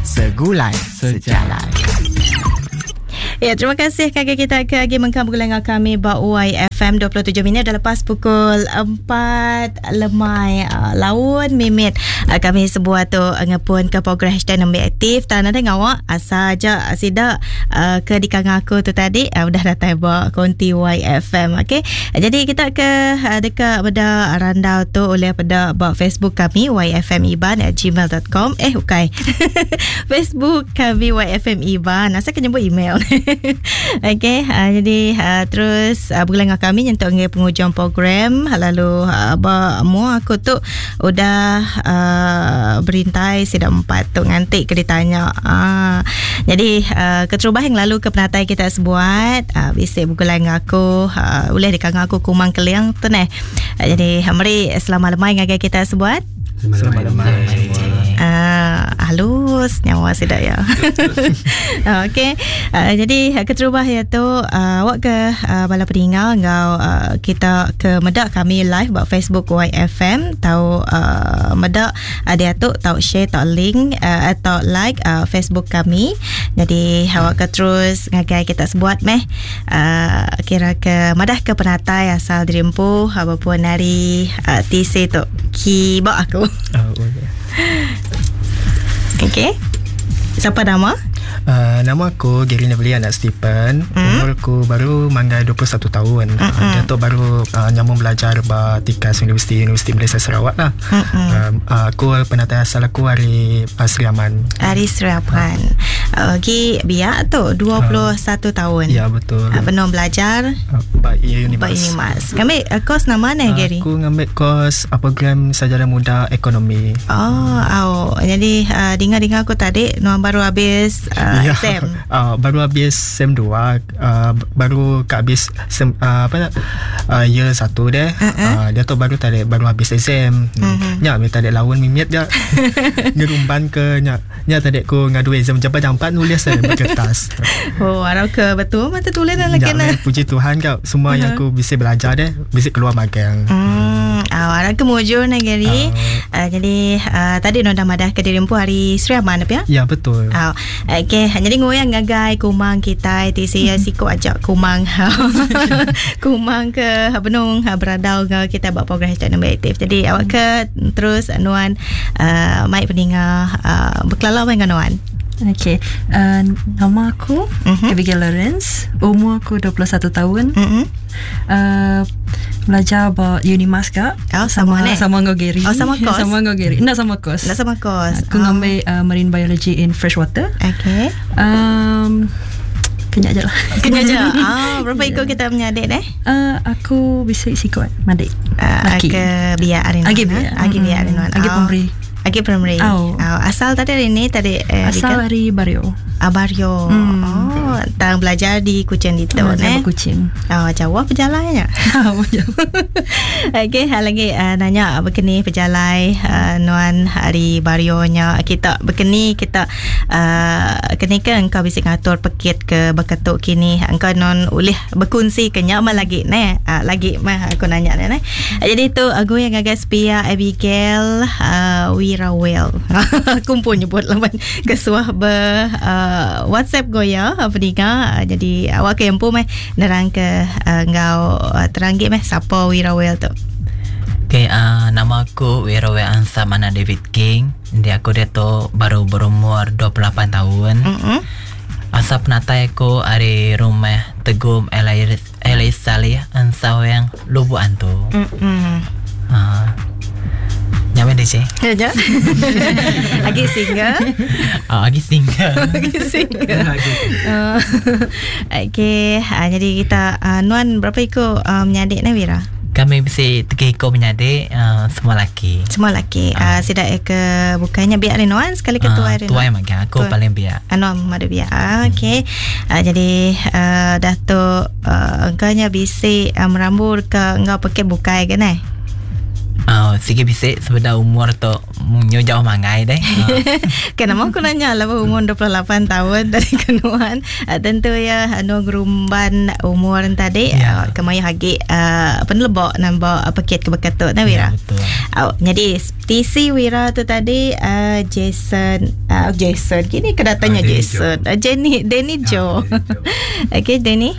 Segulai Sejalai. Ya, terima kasih ngagai kita ke agi mengkang begulai enggau kami ba YFM 27 minit dah lepas pukul 4 lemai uh, laun mimit uh, kami sebuah tu uh, ngepun ke program hashtag nembiak aktif tan ada ngawa asal aja sida uh, ke dikangau aku tu tadi uh, udah datai ba konti YFM okey. Jadi kita ke uh, deka meda randau tu oleh peda ba Facebook kami yfmiban at gmail.com eh ukai Facebook kami YFM Iban asal ke nyebut email okey uh, jadi uh, terus uh, begulai dengan kami nyentuk ngi pengujung program lalu uh, ba mua aku tu udah uh, berintai sida empat tu nganti ke ditanya uh, jadi uh, keterubah yang lalu ke penatai kita sebuat uh, bisi begulai dengan aku uh, ulih dikangau aku Kumang Keling tu neh uh, jadi meri selamat lemai ngagai kita sebuat Selamat lemai semua. Uh, halus nyawa sida ya. Okey. Uh, jadi keterubah ya tu uh, awak ke uh, bala peninga enggau uh, kita ke meda kami live ba Facebook YFM tau uh, meda uh, dia tu tau share tau link uh, atau like uh, Facebook kami. Jadi awak ke terus ngagai kita sebuat meh uh, kira ke madah ke penatai asal diri empu apapun hari uh, TC tu kiba aku. Oh, okay. Okey. Siapa nama? Uh, nama aku Gary Neville anak Stephen. Umur aku baru manggai 21 tahun. Uh, dia tu baru uh, nyambung belajar ba Tikas Universiti Universiti Malaysia Sarawak lah. Uh, uh, aku penatai asal aku hari uh, Sri Aman. Hari Sri Aman. Lagi uh, biak tu 21 uh, tahun. Ya betul. Uh, penuh belajar uh, ba Unimas. Ba Unimas. Ngambil uh, kos nama ni Gary? Aku ngambil kos uh, program Sarjana Muda Ekonomi. Oh, au. Jadi uh, dengar-dengar aku tadi nuan baru habis uh, ya. sem. Uh, baru habis sem 2, uh, baru kat habis sem uh, apa uh, year 1 deh. Uh-huh. Uh, dia tu baru tadi baru habis exam. Uh-huh. Nya minta tadi lawan mimit dia. Ngerumban ke nya. Nya tadi aku ngadu exam jampat-jampat nulis saya berkertas. Oh, arau ke betul mata tulis dalam Ya, kena. puji Tuhan kau semua uh-huh. yang aku bisa belajar deh, bisa keluar magang. Hmm, uh, arau ke mujur nak Gary. Uh. Uh, jadi uh, tadi nonda madah ke diri empu hari Sri Aman apa ya? Ya betul. Oh, okey, jadi ngoyang ngagai kumang kita ti saya siko ajak kumang. kumang ke benung beradau ke kita buat program hashtag nombor aktif. Jadi awak ke terus nuan uh, mic peninga uh, berkelala dengan nuan. Okey, uh, nama aku uh-huh. Abigail Lawrence. Umur aku 21 tahun. Uh-huh. Uh, belajar ba Unimas kak. Oh, sama sama, ni. sama dengan Gary. Oh, sama kos? sama dengan Gary. Nak sama kos. Nak sama kos. Aku oh. ngambil uh, marine biology in freshwater. Okey. Um, kenyak je lah. Kena je. Ah, berapa ikut kita punya adik deh? Uh, aku bisa sikot madik. Uh, Laki. ke biak hari ni. Agi biak. Agi biak hari ni. Agi pemberi. Agi primary. Oh. Oh, asal tadi hari ni tadi eh, Asal dari Bario. Abario. Hmm. Oh, tang belajar di Kuching di tu Belajar eh. Kuching. Oh, jauh perjalanannya. Okey, hal lagi uh, nanya berkeni pejalai uh, nuan hari barionya kita berkeni kita uh, keni ke engkau bisa ngatur pekit ke berketuk kini engkau non ulih berkongsi ke nyak mah lagi ne uh, lagi mah aku nanya ne. Jadi tu aku yang agak sepia Abigail uh, Wirawel. aku pun nyebut lawan kesuah ber uh, WhatsApp goya apa ninga uh, jadi awak ke empu meh nerang ke uh, ngau uh, teranggit meh siapa Wirawel tu. Okay, uh, nama aku Wirawel Ansam anak David King. Jadi aku dia tu baru berumur 28 tahun. Mm-mm. Asal penatai aku dari rumah Tegum Elis, Elis Salih Ansaweng Lubuk Antu. Mm-mm. Uh, Nyaman DJ? Ya je. Agi single. Oh, agi single. Agi single. Uh, Okey, uh, jadi kita uh, nuan berapa ikut uh, menyadik ni Wira? Kami mesti tiga ekor menyadik uh, semua laki. Semua laki. Uh, sidak ke bukannya biar nuan sekali ke tuai uh, Tuai makan aku Tuai. paling biak. Anu madu biak. Ah, Okey. Uh, jadi uh, dah tu uh, engkaunya bisi uh, merambur ke engkau pakai bukai ke ne? Uh, sigi bisi sebedau umur tu nyu jauh mangai deh. Ke nama aku nanya lah umur 28 tahun tadi kenuan. Uh, tentu ya anu gerumban umur tadi yeah. uh, kemayuh agi uh, penelebok nambah uh, pekit ke beketu nah Wira. Yeah, betul. Uh, jadi TC Wira tu tadi uh, Jason uh, Jason kini kedatanya uh, Jason. Uh, Jenny Danny Joe. Uh, Okey Danny.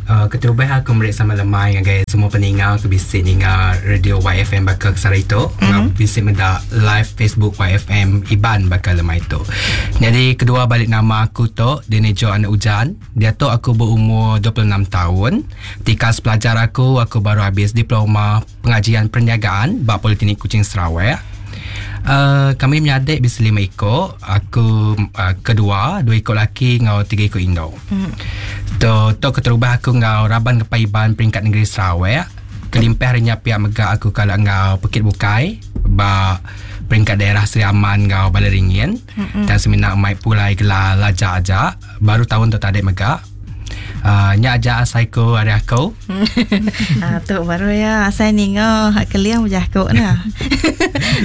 Uh, keterubah aku meri sama lemai ngagai semua peninga ke bisi ninga radio YFM baka sehari tu mm-hmm. bisi meda live Facebook YFM Iban baka lemai tu. Jadi kedua balik nama aku tu Danny Joe anak Ujan. Diatu aku berumur 26 tahun. Tikas pelajar aku aku baru habis diploma pengajian perniagaan ba Politeknik Kuching Sarawak. Uh, kami menyadik bisi 5 iko. Aku uh, kedua, 2 iko laki ngau 3 iko indo. Tu tu keterubah aku ngau raban Kepai Iban peringkat negeri Sarawak. Kelimpah hari nya pihak mega aku kala ngau Pekit Bukai ba peringkat daerah Sri Aman ngau Balai Ringin. Dan semina mai pulai gelar laja aja baru tahun tu tadi mega. Uh, nya aja asai ku ari aku. Ah, tu baru ya asai ninga hak keliang bejah ku nah.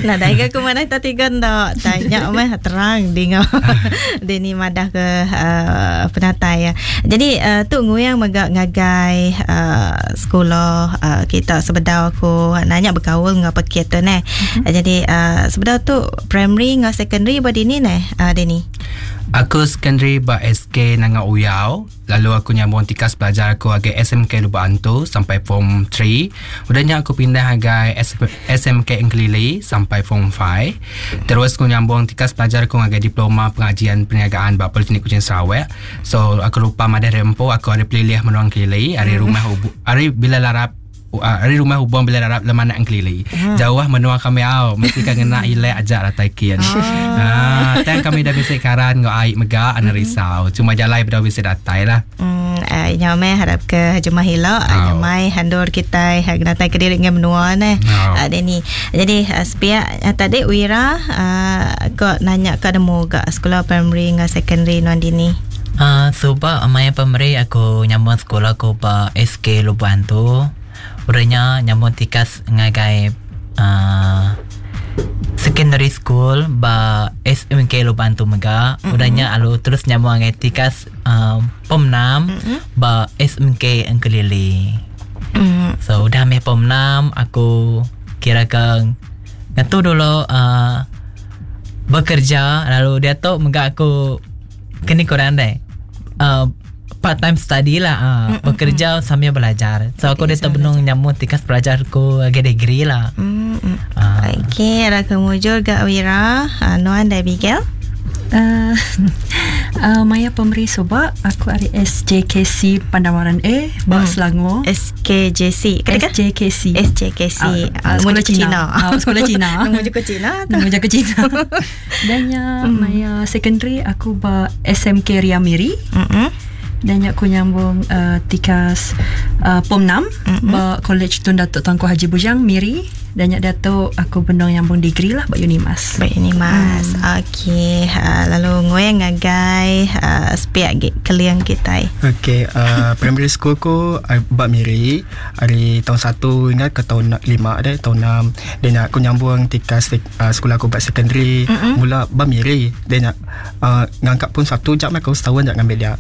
Nadai ga ku madah ta tiga enda tanya meh terang dinga. Dini madah ke uh, penatai ya. Jadi uh, tu nguyang mega ngagai uh, sekolah uh, kita sebedau aku nanya berkaul ngau pekit tu neh. Mm-hmm. Jadi uh, sebedau tu primary ngau secondary ba dini neh uh, Dini. Aku secondary ba SK Nanga Uyau, lalu aku nyambung tikas pelajar aku agai SMK Lubok Antu sampai form 3. Udah nya aku pindah agai SMK Engkelili sampai form 5. Terus aku nyambung tikas pelajar aku agai diploma pengajian perniagaan ba Politeknik Kuching Sarawak. So aku lupa madah rempo aku ada pelilih menua Engkelili, ari rumah ubu, ari bila larap ari rumah hubung bila darab lemanak Engkelili. Jauh menua kami au, mesti kan ngena ilek aja datai kin. Ah, tang kami dah bisi karan ngau ai mega ana risau. Cuma jalai bedau bisi datai lah. Hmm, uh, nyamai harap ke jemah ila, oh. Nyamai handur kita hak datai ke diri dengan menua neh. Oh. Deni. Jadi uh, sepiak uh, tadi Wira uh, kok nanya ke nemu gak sekolah primary dengan secondary nuan dini. Suba maya primary aku nyambung sekolah aku ba SK Lubok Antu. Urangnya nyambung tikas ngagai uh, secondary school ba SMK Lubok Antu mega. Mm-hmm. Udahnya alu terus nyambung ngagai tikas pom 6 mm-hmm. ba SMK Engkelili. Mm. So udah meh pom 6 aku kira ke ngatu dulu uh, bekerja, lalu dia tu mega aku kini kurang deh. Uh, part time study lah, uh, bekerja sambil belajar. So aku dia terbenung nyambung tikas pelajar aku agak degree lah. Mm. Okey, ada kemujur gak Wira, uh, Nuan dan Abigail. Uh, uh, Maya pemberi subak aku ari SJKC Pandamaran A ba Selangor. SKJC. Kata SJKC. SJKC. Uh, sekolah Cina. Uh, sekolah Cina. Nombor jago Cina. Nombor jago Cina. Dan ya Maya secondary aku ba SMK Ria Miri. Dan aku nyambung uh, tikas uh, POM 6 mm-hmm. ba College Tun Datuk Tuanku Haji Bujang Miri. Dan nyak Datuk aku benong nyambung degree lah ba Unimas. Ba Unimas. Mm. Okey, uh, lalu ngoe ngagai uh, sepiak keliang kita. Okey, uh, primary school ku ba Miri hari tahun 1 hingga ke tahun 5 deh, tahun 6. Dan aku nyambung tikas uh, sekolah aku ba secondary mm-hmm. mula ba Miri. Dan uh, ngangkat pun satu jam aku setahun jak ngambil dia.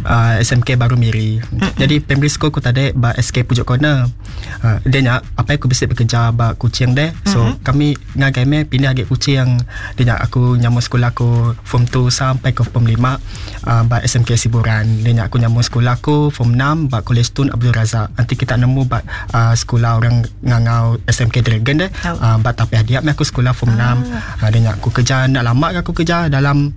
Uh, SMK baru Miri. Mm-hmm. Jadi primary school ku tadi ba SK Pujuk Corner. Uh, dan apa aku bisa bekerja ba Kuching deh. So mm-hmm. kami ngagai me pindah ke Kuching. Dia aku nyambung sekolah aku form 2 sampai ke form 5 uh, ba SMK Siburan. Dia aku nyambung sekolah aku form 6 ba College Tun Abdul Razak. Nanti kita nemu ba uh, sekolah orang ngangau SMK Dragon deh. Uh, ba tapi dia aku sekolah form 6. Uh, dia aku kerja nak lama aku kerja dalam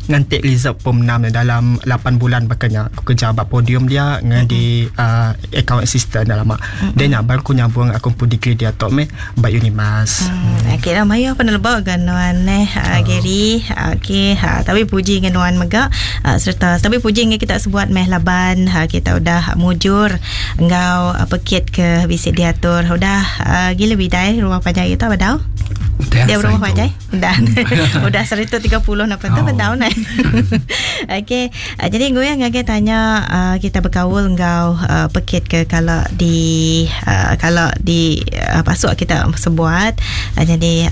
ngantik result form 6 dalam 8 bulan bakanya aku kerja bab podium dia dengan mm-hmm. di uh, account assistant dah lama. Mm-hmm. Dia nak baru aku nyambung aku pun degree dia tok meh bab Unimas. Mm. Okey lah mayu apa nelebak kan nuan eh oh. Gary. Okey ha tapi puji dengan nuan mega uh, serta tapi puji dengan kita sebuat meh laban ha, kita udah mujur engau uh, pekit ke visit diatur udah uh, gila bidai rumah panjang kita badau. Udah Dia berumah saya panjai? Udah. Udah 130 napa tu Oh. bedau nai. Okey, jadi gue yang ngagai tanya kita berkaul enggau pekit ke kalau di kalau di pasuk kita sebuat jadi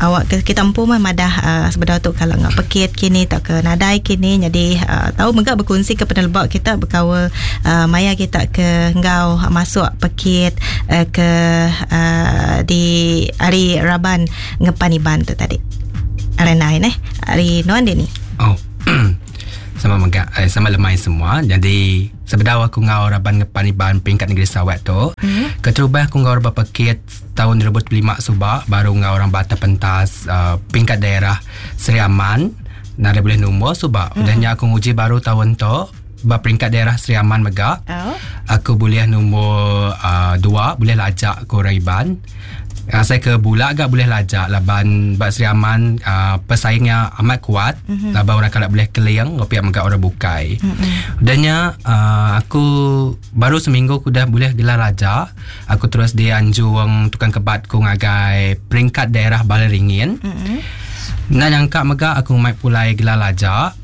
awak ke, kita empu mah madah sebedau tu kalau ngak pekit kini tak ke nadai kini jadi tahu mega berkongsi ke penelbak kita berkaul maya kita ke enggau masuk pekit ke di hari Raban ngepan Iban tu tadi. Arenai neh. Hari nuan dia ni. Oh. Sama mega sama lemai semua. Jadi sebedau aku ngau Raban Ngepan Iban peringkat negeri Sarawak tu, keterubah aku ngau beberapa pekit tahun 2005 subak baru ngau orang Batas Pentas peringkat daerah Seri Aman. Nada boleh nombor subak. Udahnya aku nguji baru tahun tu berperingkat daerah Seri Aman mega. Oh. Aku boleh nombor 2, boleh lajak ke orang Iban. Saya ke Bulak agak boleh lajak laban bak Seri Aman pesaingnya amat kuat. Laban orang kalau boleh keliang ngopi megak orang bukai. Udahnya aku baru seminggu aku dah boleh gelar lajak. Aku terus dianjung tukang kebat ku ngagai peringkat daerah Balai Ringin. Nak nyangka megak aku mai pulai gelar lajak.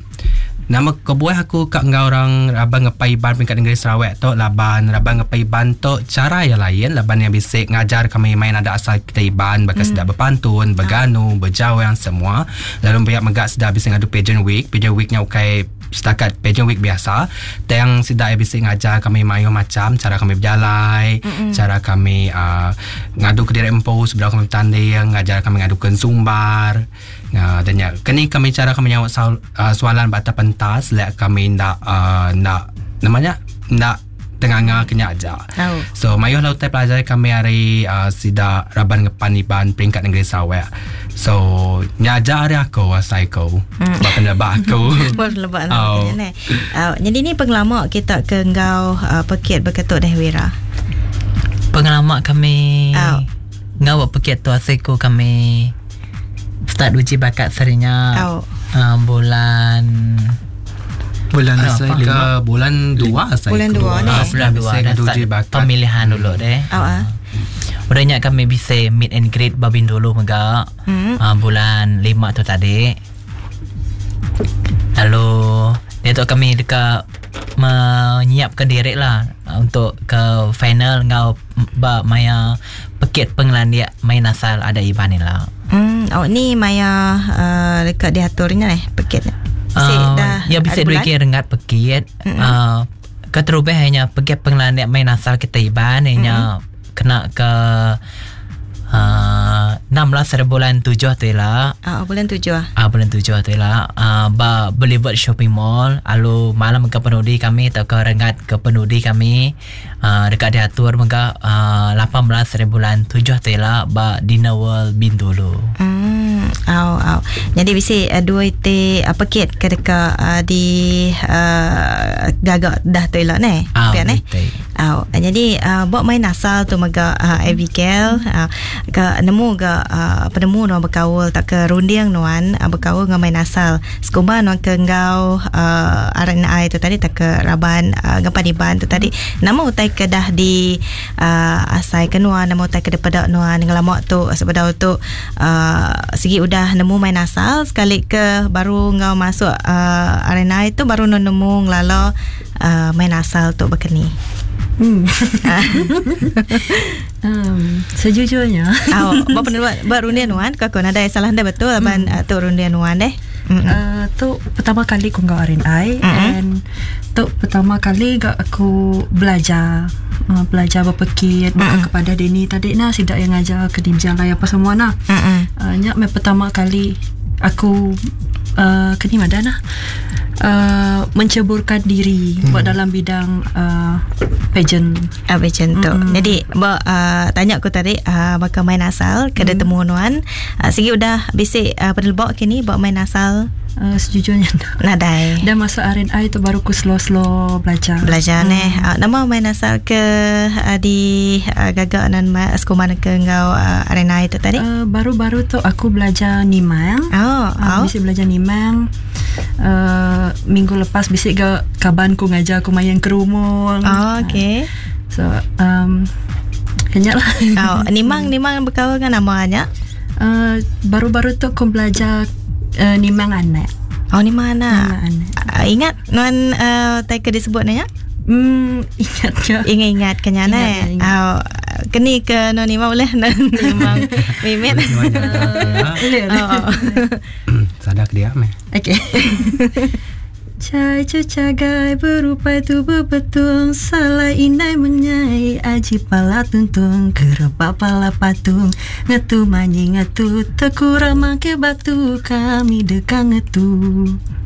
Nama kebuah aku kat ngau orang Raban Ngepai Iban peringkat negeri Sarawak tu laban Raban Ngepai Iban tu cara yang lain laban yang bisik ngajar kami main ada asal kita Iban bakal sedap berpantun, berganu, berjawang semua. Lalu pihak megak sedap bisik ngadu pageant week. Pageant weeknya ukai setakat pageant week biasa. Tang sedap bisik ngajar kami main macam cara kami berjalai, cara kami ngadu ke diri empu sebelum kami bertanding, ngajar kami ngadu ke zumbar. Dan ya, kini kami cara kami nyawa soalan batas pentas, lek kami nak nak namanya nak tengah kena aja. Oh. So mayuh lah utai pelajar kami hari sida Raban Ngepan Iban peringkat negeri Sarawak. So nyaja hari aku asai aku. Sebab penebak aku. Buat lebak Oh. lah. Jadi ni pengalaman kita ke engkau pekit berketuk dah Wira. Pengalaman kami Oh. ngau buat pekit tu asal kami start uji bakat serinya Oh. bulan Bulan Asal ke bulan 2 asal Bulan aku. dua ni. Bulan 2 Saya dah ngadu start uji bakat. pemilihan dulu deh. Oh, ah. Udahnya kami bisa meet and greet babin dulu mega. Bulan 5 tu tadi. Lalu dia tu kami dekat menyiapkan diri lah untuk ke final ngau ba maya pekit pengelandia main asal ada Iban ni lah. Oh ni maya dekat diaturnya eh pekit. Bisik dah. Ya bisa ada dua bulan? kira rengat pekit. Keterubah hanya pekit pengelandia main asal kita Iban hanya kena ke 16 hari bulan 7 tu lah. Bulan 7 ah. Bulan 7 tu lah. Ba Boulevard Shopping Mall. Lalu malam ke penudi kami atau ke rengat ke penudi kami dekat diatur mega 18 hari bulan 7 tu lah ba Dinner World Bintulu. Au au. Jadi bisi dua iti pekit ke dekat di gagak dah tu elok ne. Pian ne. Au. Jadi buat main asal tu mega Abigail ke nemu ke penemu nuan berkaul tak ke runding nuan berkaul dengan main asal. Sekumba nuan ke ngau RNI tu tadi tak ke raban ngepan iban tu tadi. Nama utai ke dah di asai ke nuan, nama utai ke depedak nuan ngelamak tu sebedau tu segi udah nemu main asal sekali ke baru ngau masuk RNI tu baru nuan nemu ngelala main asal tu berkeni. Sejujurnya Oh, buat peneluan buat rundian nuan kau kau ada salah anda betul aban tu rundian nuan deh. Tu pertama kali aku ngau RNI and tu pertama kali gak aku belajar belajar berpekit kepada Denny tadi nah sidak yang ngajar ke Dimjalai apa semua nah. Nyak me pertama kali aku keni madan lah menceburkan diri buat dalam bidang pageant. Pageant tu. Jadi tanya aku tadi bakal main asal kena temu nuan. Segi udah bisik penelbok kini buat main asal. Sejujurnya nadai. Dan masuk RNI tu baru aku slow-slow belajar. Belajar neh. Nama main asal ke di gagak nan sekolah ke ngau RNI tu tadi? Baru-baru tu aku belajar nimang. Oh, oh. Bisik belajar nimang. Minggu lepas bisik ke kaban ku ngajar aku main kerumung. Oh, okey. So kenyap lah. Oh, nimang berkawan dengan namanya? Baru-baru tu aku belajar nimang anak. Oh nimang anak. Nimang anak. Ingat nuan tai ke disebut nya? Ingat ke. Ingat-ingat ke nya neh. Oh, keni ke nuan nimang ulih nimang mimit. Ulih. Sada ke dia meh. Okey. Cai cecagai berupai tu bebetung Salai indai menyai aji pala tuntung Kerebak pala patung Ngetu manyi ngetu Tekura mangkir batu Kami deka ngetu.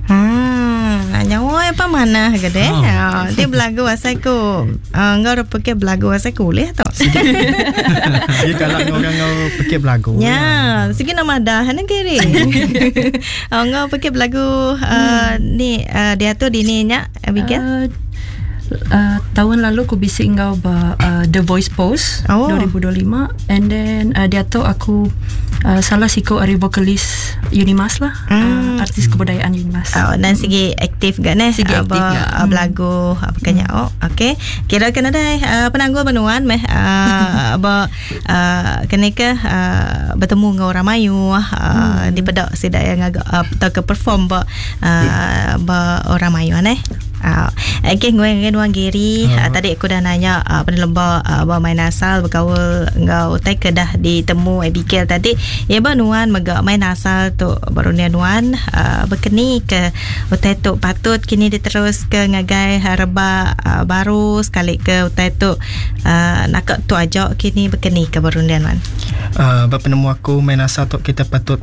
Hmm, nyawa apa manah ke deh. Oh. Oh, dia belagu asai ku. Enggau uh, pekit belagu asai ku ulih tu. Dia kalau orang ngau pekit belagu. Ya, sigi nama dah ne kiri. Enggau pekit belagu ni dia tu dini nya Abigail. Taun lalu ku bisi enggau ba The Voice Post 2025 and then diatu aku salah siku ari vokalis Unimas lah artis kebudayaan Unimas. Oh dan sigi aktif ga neh sigi aktif ga belagu baka nya oh okey kira ke nadai penanggul ba nuan meh ba keni ke betemu enggau orang mayuh dipeda sida iya ngaga tauka perform ba ba orang mayuh neh. Okey ngui ngagai nuan Gary tadi aku dah nanya peneleba ba main asal bekaul enggau utai ke dah ditemu Abigail tadi. Iya ba nuan mega main asal tu ba runding nuan bekeni ke utai tu patut kini diteruska ngagai rebak baru sekali ke utai tu naka tu aja kini bekeni ke ba runding nuan. Ba penemu aku main asal tu kita patut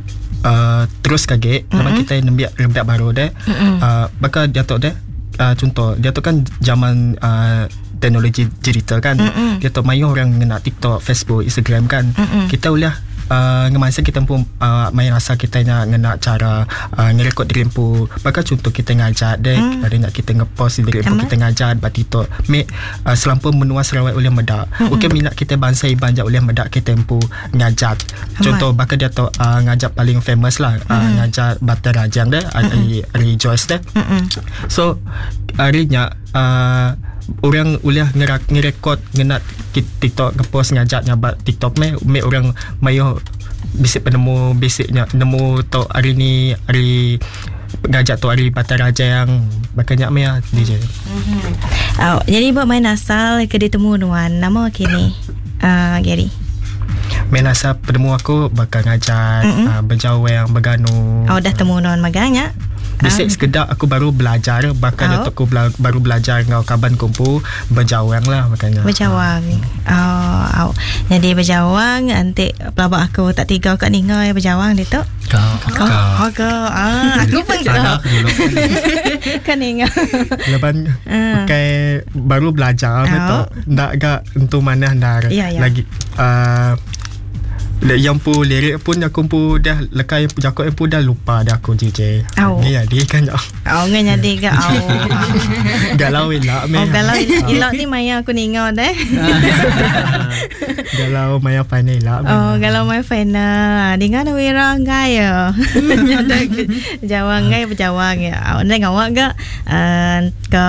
terus ke agi laban kitai nembiak rebak baru deh. Baka diatu deh chunto diatu kan zaman teknologi digital kan. Diatu mayuh orang ngena TikTok, Facebook, Instagram kan. Kita ulih ngemansang kita empu main rasa kita nya ngena chara ngerekod diri empu. Baka chunto kita ngajar deh ari nya kita ngepost diri empu kita ngajar ba TikTok. Meh selampur menua Sarawak ulih meda. Ukai mina kita bansa Iban ja ulih meda kita empu ngajat. Contoh baka dia tu ngajat paling famous lah ngajat Batai Rajang deh ari ari Joyce deh. So ari nya orang ulih ngerekod ngena TikTok ngepost ngajat nya ba TikTok meh meh orang mayuh bisi penemu bisi nya nemu tu ari ni ari ngajat tu ari Batai Rajang baka nya meh DJ. Jadi ba main asal ke ditemu nuan nama kini? Gary. Main asal penemu aku baka ngajat, bejawang, beganu. Oh dah temu nuan mega nya. Bisi sekeda aku baru belajar baka oh. Aku baru belajar enggau kaban ku empu bejawang lah baka nya. Bejawang. Oh, oh. Jadi bejawang enti pelaba aku tak tiga ka ninga ya bejawang ditu. Ka. Ka. Oh, ka. Ah, aku pun ka. Ka ninga. Laban pakai baru belajar betul. Ndak ga entu manah endar lagi yang pu lirik pun aku pun dah lekai jakok yang pun dah lupa dah aku JJ. Oh. Ni jadi kan. Oh, ngan jadi ke. Oh. Galau elak meh. Oh, galau elak ni maya aku ninga deh. Galau maya final elak. Oh, galau maya final. Dinga na wira ngai ya. Jawang ngai berjawang ya. Oh, ndai ngawak ga ke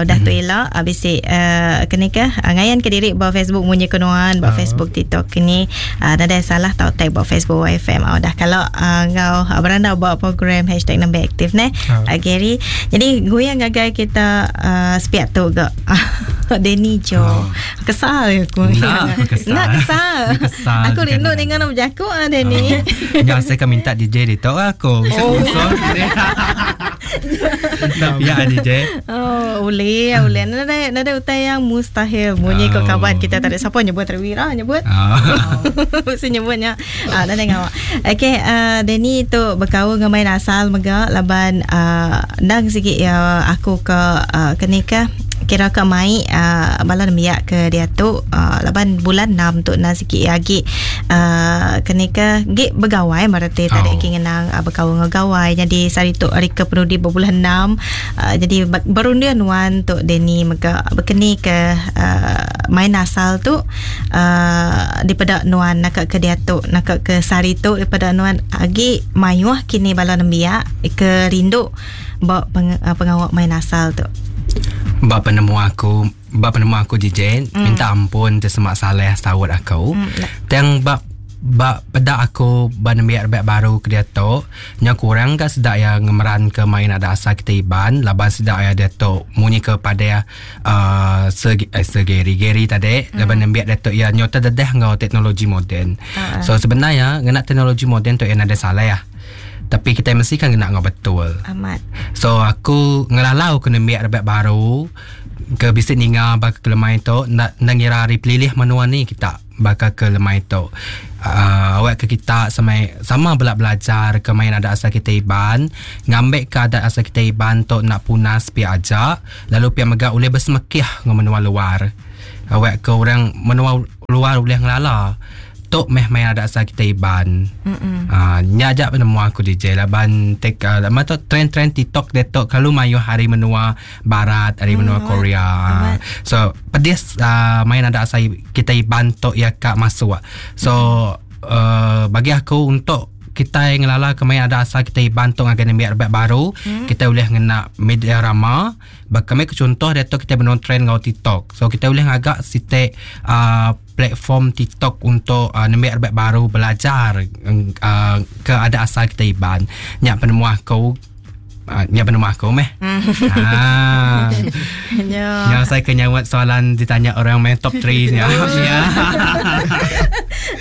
udah tu ila bisi keni ke ngayan ke diri ba Facebook munyi ke nuan ba Facebook TikTok kini nadai salah tau tag ba Facebook YFM udah kalau enggau berandau ba program hashtag nembiak aktif neh Gary. Jadi goyang ngagai kita sepiak tu ga Danny Jo. Kesal aku. Nak kesal. Aku rindu ninga nak berjaku ah Danny. Nya saya kan minta DJ ditu aku. Tapi ya DJ. Oh, boleh, boleh. Nada nada utai yang mustahil. Munyi ko kawan kita tadi siapa nyebut Terwira nyebut. Mesti nyebutnya. Ah, nada ngawak. Okey, Danny tu berkaul dengan main asal mega laban ndang sikit ya aku ke keni ke kira ke mai bala nembiak ke diatu laban bulan 6 tu na sikit agi keni ke gi begawai mereti tadi agi ngenang bekaul enggau gawai. Jadi sehari tu hari ke penudi berbulan 6 jadi berundian nuan tu Danny mega bekeni ke main asal tu daripada nuan nak ke diatu nak ke sehari tu daripada nuan agi mayuh kini bala nembiak ke rindu ba pengawak main asal tu. Ba penemu aku DJ minta ampun te semak saleh saut aku. Tang ba ba peda aku ba nembiak rebak baru ke diatu nyau kurang ga sida iya ngemeran ke main adat asal kitai Iban laban sida iya diatu munyi ke padeh uhh Sir Sir Gary Gary tadi laban nembiak diatu iya nyau tededah enggau teknologi moden. So sebenar iya ngena teknologi moden tu iya nadai salah tapi kitai mesti ka ngena enggau betul. Amat. So aku ngelalau ke nembiak rebak baru ke bisi ninga baka ke lemai tu enda enda ngira ari pelilih menua ni kita baka ke lemai tu uhh awak ke kita sama sama bela belajar ke main adat asal kitai Iban ngambi ke adat asal kitai Iban tu enda punas pia aja lalu pia mega ulih besemekih enggau menua luar awak ke orang menua luar ulih ngelala tu meh main adat asal kitai Iban. Aa nya aja penemu aku DJ laban tek lama tu trend-trend TikTok diatu kelalu mayuh ari menua barat ari menua Korea. So pedis aa main adat asal kitai Iban tu iya ka masuk. So uhh bagi aku untuk kitai ngelala ke main adat asal kitai Iban tu ngagai nembiak rebak baru kitai ulih ngena media rama. Baka meh ke chuntoh diatu kitai benung trend enggau TikTok. So kitai ulih ngaga siti uhh platform TikTok untuk uh, nembiak rebak baru belajar uh, ke adat asal kita Iban. Nya penemu aku uh, nya penemu aku meh. ha. Nya. Nya saya ke nyawat soalan ditanya orang main top 3 nya. Ya.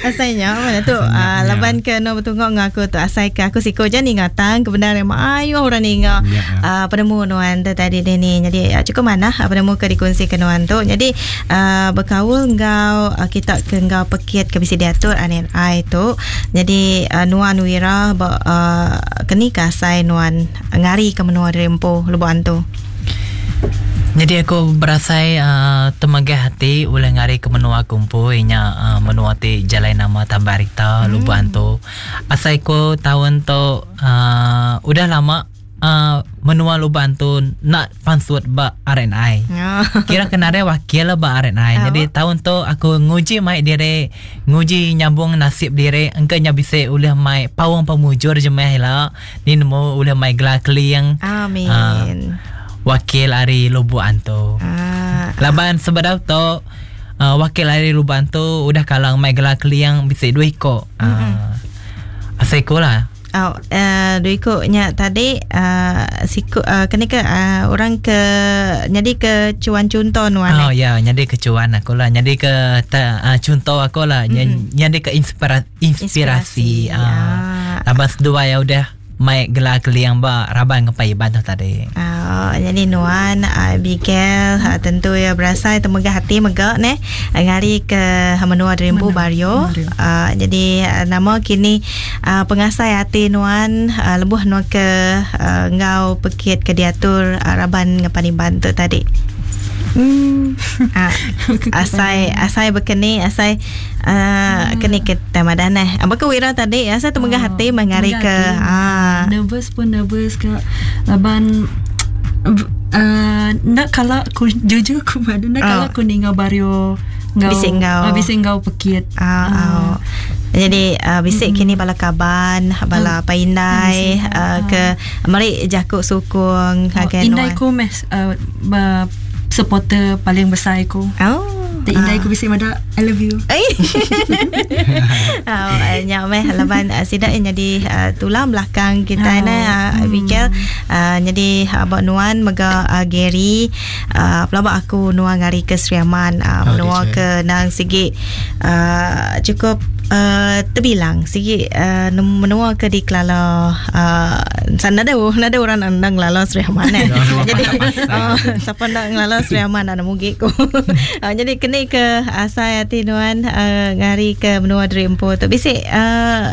Asai nya mana tu uh, laban ke no betungok ngau aku tu asai ke aku siko je ninga tang kebenaran mayuh orang ninga Ya. uh, penemu nuan tu tadi ni. Jadi uh, cukup manah uh, penemu ke dikongsi ke nuan tu. Jadi uh, bekaul enggau uh, kita ke enggau pekit ke bisi diatur RNI tu. Jadi uh, nuan Wira ba uh, keni ke asai nuan ngari ke menua diri empu Lubok Antu. Jadi aku berasai uh, temegah hati ulih ngari ke menua aku empu inya uh, menua ti jalai nama Tambak Rita Lubok Antu. Asai ku taun tu uh, udah lama uh, menua Lubok Antu nak pansut ba RNI. Kira ke nadai wakil lah ba RNI. Jadi tahun tu aku nguji mai diri, nguji nyambung nasib diri engka nya bisi ulih mai paung pemujur jemah ila. Ni nemu ulih mai gelar keling. Amin. Uh, wakil ari Lubok Antu. Laban sebedau tu uh, wakil ari Lubok Antu udah kala mai gelar keling bisi dua iko. Uh, asai ku lah. Oh, uh, dua iku nya tadi uh, siku uh, keni ke uh, orang ke nyadi ke cuan contoh nuan. Oh ya, nyadi ke cuan aku lah, nyadi ke ta, uh, contoh aku lah, mm-hmm. nyadi ke inspira, inspirasi. Inspirasi, Uh, ya. Laban seduai ya udah mai gelar keliang ba raban ngepai Iban tu tadi. Oh, jadi nuan Abigail tentu ya berasai temegah hati mega neh ngari ke menua Dreambu Bario. Jadi nama kini pengasai hati nuan lebuh nuan ke ngau pekit ke diatur raban ngepan Iban tu tadi. Asai asai bekeni asai keni ke tamadan eh. Apa ke Wira tadi asai temegah hati mengari ke nervous pun nervous ke laban nak kalau aku jujur aku pada nak kalau aku ninga Bario ngau Bisik ngau. Bisik ngau pekit. Jadi bisik kini bala kaban, bala paindai ke meri jakuk sukung ngagai Indai nuan. ku meh supporter paling besar ku. Oh. Indai ku bisik mada I love you. Oh, nya meh laban sida jadi tulang belakang kita nah Abigail. Jadi abak nuan mega Gary pelabak aku nuan ngari ke Sri Aman menua ke nang sigi cukup terbilang sigi menua ke dikelala sana ada nada orang nang ngelala Sri Aman eh. Jadi siapa nak ngelala Sri Aman nak mugi ku. Jadi kini ke asai hati nuan ngari ke menua diri empu tu bisik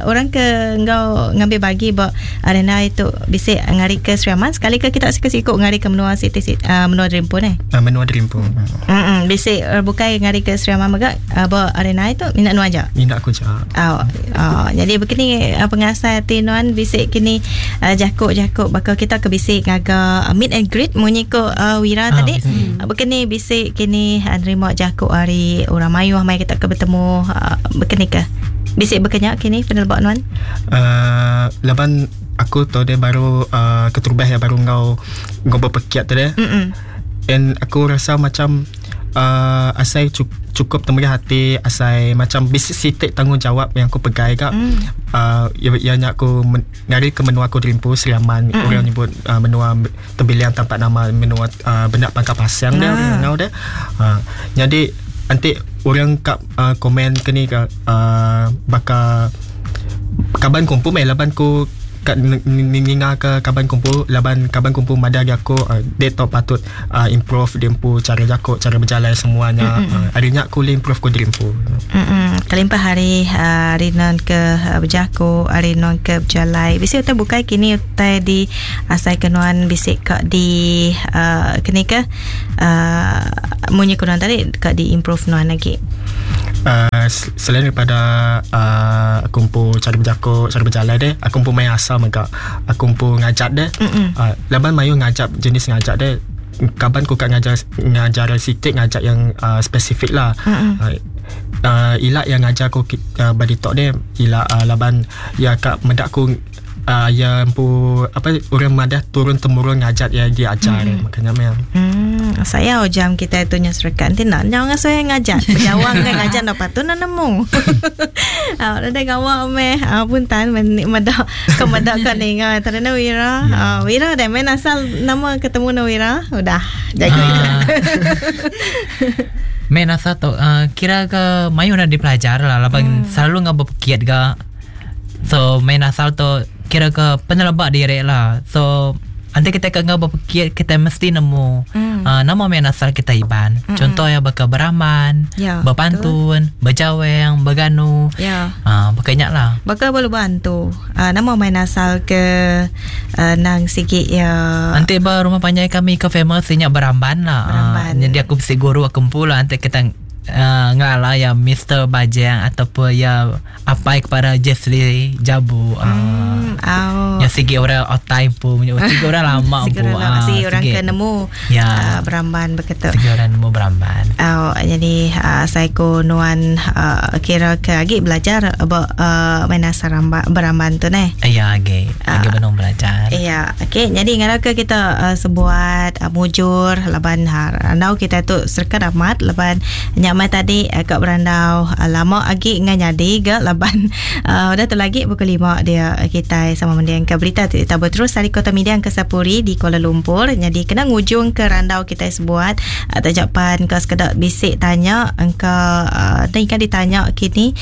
orang ke ngau ngambil bagi ba arena itu bisik ngari ke Sri Aman sekali ke kita siku-siku ngari ke menua siti menua diri empu ne. Menua diri empu. Bisik bukai ngari ke Sri Aman mega ba arena itu minat nuan aja. Minat aku je. Jadi begini pengasai hati nuan bisik kini jakuk-jakuk bakal kita ke bisik ngaga meet and greet munyi ko Wira tadi. Begini bisik kini nerima jakuk hari orang mayuh mai kita ke bertemu begini ke bisik berkenyak kini penelbak nuan. Laban aku tu dia baru keterubah ya baru ngau ngau berpekiat tu dia. And aku rasa macam Asai cukup temeriah ati asai macam bisi siti tanggungjawab yang aku pegai ga. Iya nya aku ngari ke menua aku dirimpu Sri Aman orang nyebut menua Tembiling tampak nama menua benda Pangkal Pasang dia orang ngangau dia. Nyadi enti orang ka komen ke ni ka baka kaban ku empu meh laban ku ka ninga ke kaban ku empu laban kaban ku empu madah agi aku dek tau patut improve diri empu cara jako cara bejalai semua nya ari nya ku ulih improve ku diri empu. Kelimpah ari ari non ke bejaku ari non ke bejalai bisi utai bukai kini utai di asai ke nuan bisi ka di kini ke munyi ku nuan tadi ka di improve nuan agi. Selain daripada aku empu cara bejaku cara bejalai deh aku empu main asal mega aku empu ngajat deh laban mayuh ngajat jenis ngajat deh kaban ku ka ngajar ngajar siti ngajat yang spesifik lah ila yang ngajar ku ba ditu deh ila laban iya ka meda ku iya empu apa orang madah turun temurun ngajat iya diajar mm. makanya meh. Saya jam kita tu nya serekat enti nak nyau ngasuh ngajat. Bejawang kan ngajat enda patut nak nemu. Ah uh, gawa meh uh, puntan meda ke meda ka ninga tadi na Wira. Yeah. Uh, Wira dah main asal nama ketemu na Wira udah jaga. Main asal tu uh, kira ke mayuh dah dipelajar lah laban selalu ngau bepekit ga. So main asal tu kira ke peneleba diri lah. So enti kita ke enggau bepekit kita mesti nemu mm. nama main asal kita Iban. Mm-mm. Contoh ya baka beramban, ya, bepantun, betul. Bejaweng, beganu. Ya. Baka nya lah. Baka belu bantu. Nama main asal ke nang sigi ya. Enti ba rumah panjai kami ke famous nya beramban lah. Beramban. Jadi aku bisi guru aku empu lah enti kita ngelala ya Mr. Bajang ataupun ya apai kepada Jesly Jabu. Hmm, oh. Yang sigi orang otai pun, sigi orang lama sigi pun. Orang lama, sigi orang ke nemu ya. Beramban begitu. Sigi orang nemu beramban. Oh, jadi saya ko nuan kira ke agi belajar about main asal beramban tu neh. Ya, agi. Agi benung belajar. Ya, okey. Jadi ngarap ke kita sebuat mujur laban randau kita tu serka amat laban nyamai tadi ka berandau lama agi ngan nyadi ga laban udah tu lagi pukul 5 dia kita sama mending ke berita ti tabur terus dari Kota Media ke Sapuri di Kuala Lumpur. Jadi kena ngujung ke randau kita sebuat tajapan ke sekedak bisik tanya engka dan ikan ditanya kini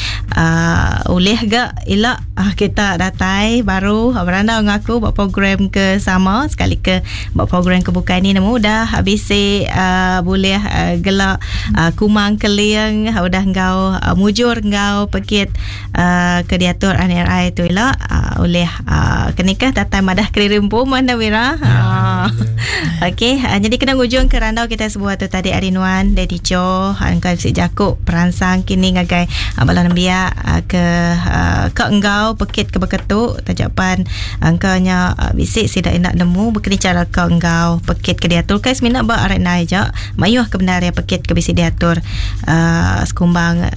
ulih ga ila kita datai baru berandau ngaku buat program ke sama sekali ke buat program ke bukai ni nemu dah bisi boleh gelak kumang keling udah enggau mujur enggau pekit ke diatur NRI tu ila oleh kenikah datai madah kelirimpu mana Wira. Okey, jadi kena ngujung ke randau kita sebuah tu tadi hari nuan Daddy Cho engkau bisi jakuk peransang kini ngagai bala nembiak ke ke enggau pekit ke beketu tajapan engkau nya bisi sida nak nemu bekeni cara ke enggau pekit ke diatur kai semina ba RNI aja mayuh ke benar ya pekit ke bisi diatur sekumbang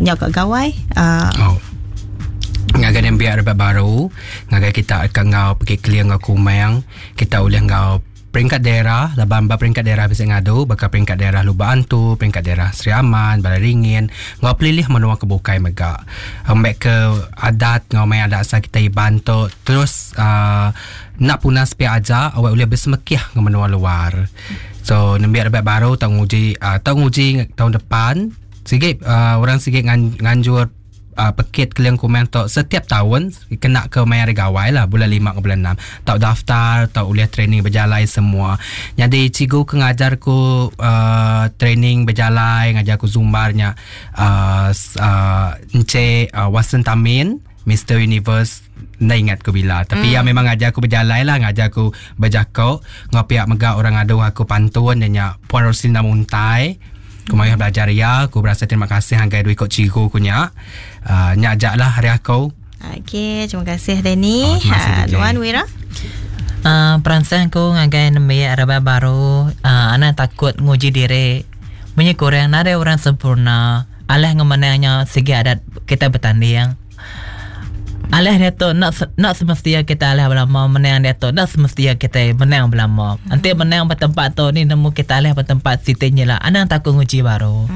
nyau ka gawai. Ngagai nembiak rebak baru ngagai kita ke enggau pekit keling enggau kumang kita ulih enggau peringkat daerah laban ba peringkat daerah bisi ngadu baka peringkat daerah Lubok Antu, peringkat daerah Sri Aman, Balai Ringin enggau pelilih menua ke bukai mega. Ambek ke adat enggau main adat asal kita Iban tu terus enda punas pia aja awak ulih besemekih enggau menua luar. So nembiak rebak baru tau nguji tau nguji taun depan sigi orang sigi nganjur pekit keling kumang tu setiap tahun kena ke maya hari gawai lah bulan 5 ke bulan 6 tau daftar tau ulih training berjalai semua. Jadi cikgu ke ngajar ku training berjalai ngajar ku zumba nya Encik Watson Tamin Mr Universe enda ingat ku bila tapi ya memang ngajar aku berjalai lah ngajar aku berjakok ngau pihak mega orang ngadu aku pantun nya Puan Rosinda Muntai. Ku mayuh belajar iya, ku berasa terima kasih ngagai dua iko cikgu ku nya. Nya aja lah ari aku. Okey, terima kasih Danny. Oh, terima kasih, DJ. Nuan Wira? Peransang ku ngagai nembiak rebak baru, anang takut nguji diri. Munyi kurang nadai orang sempurna, alah ngemenang nya sigi adat kitai betanding. Alah diatu enda enda semesti kita alah belama menang diatu enda semesti kita menang belama. Enti menang ba tempat tu ni nemu kita alah ba tempat siti nya ila anang takut nguji baru.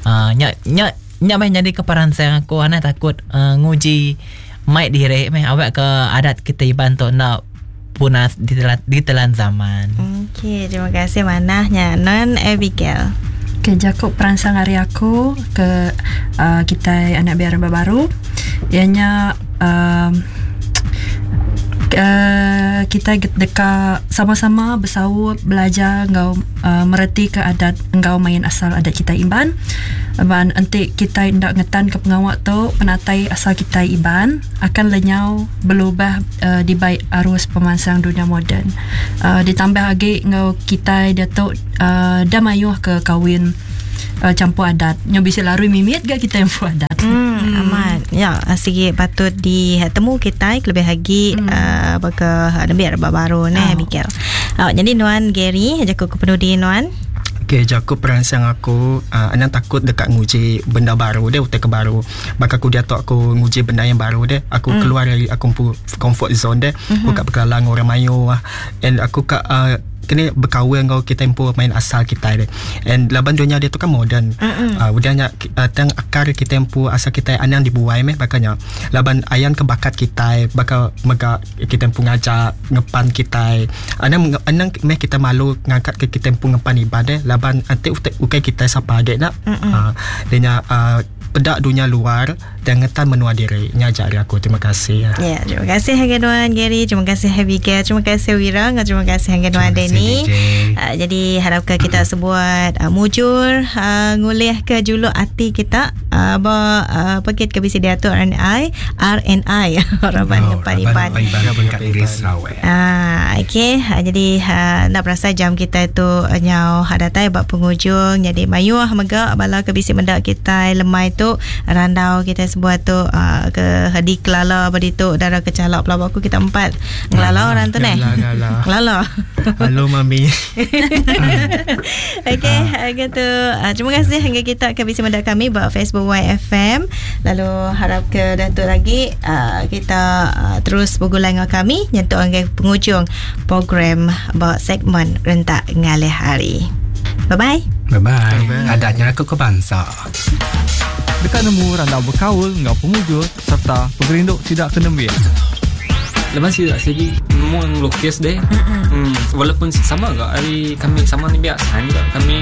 Aaa nya nya nya meh nyadi ke peransang aku anang takut aaa nguji mai diri meh awak ke adat kita Iban tu enda punas ditelan ditelan zaman. Okey terima kasih manah nya non Abigail. Okey jaku peransang ari aku ke uhh kitai anak biak rebak baru iya nya uhh uhh kitai deka sama-sama besaup belajar enggau uhh meretika adat enggau main asal adat kitai Iban. Laban enti kitai enda ngetanka pengawa tu penatai asal kitai Iban akan lenyau belubah dibai arus pemansang dunya moden. Ditambah agi enggau kitai diatu da mayuh ke kawin champur adat. Nyau bisi larui mimit ga kitai empu adat. Hmm, amat. Ya, sigi patut ditemu kitai kelebih agi baka nembiak rebak baru neh Abigail. Nyadi nuan Gary, jaku ke penudi nuan. Okey, jaku peransang aku anang takut deka nguji benda baru deh, utai ke baru. Baka aku diatu aku nguji benda yang baru deh. Aku mm. keluar dari aku empu comfort zone deh. Mm-hmm. Aku ka bekelala dengan orang mayuh and aku ka uh, kena berkawan enggau kita empu main asal kita deh. And laban dunia dia tu kan moden. Mm-hmm. Udah nya tang akar kita empu asal kita anang dibuai meh baka nya. Laban ayan ke bakat kita baka mega kita empu ngajar ngepan kita. Anang anang meh kita malu ngangkat ke kita empu ngepan Iban deh laban enti ukai kita sapa agi nak. Mm-hmm. Dia nya peda dunya luar dan ngetan menua diri. Nya aja ari aku. Terima kasih. Ya, terima kasih ngagai nuan Gary, terima kasih Abigail, terima kasih Wira, enggau terima kasih ngagai nuan Danny. Jadi harapka kita sebuat mujur ngulihka juluk ati kita ba pekit ke bisi diatur RNI, RNI Raban Oh, Ngepan Raban Iban. Ngepan Iban Peringkat Negeri Sarawak. Ah, okey. Jadi enda berasai jam kitai tu nyau datai ba pengujung. Jadi mayuh mega bala ke bisi meda kitai lemai tu randau kitai sebuat tu ke dikelala ba ditu dara ke chala pelaba aku kita empat ngelala orang tu neh. Ngelala. Halo mami. Okey, gitu. Terima kasih hingga kita ke bisi meda kami ba Facebook YFM. Lalu harap ke dah tu lagi kita terus begulai enggau kami nyentuk ngagai pengujung program ba segmen Rentak Ngalih Hari. Bye-bye. Bye-bye. Adat nyerakup ke bansa. Deka nemu randau bekaul enggau pemujur sereta pengerindu sida ke nembiak. Laban sida sigi nemu ngelukis deh. Walaupun sama ga ari kami sama nembiak sains ga kami.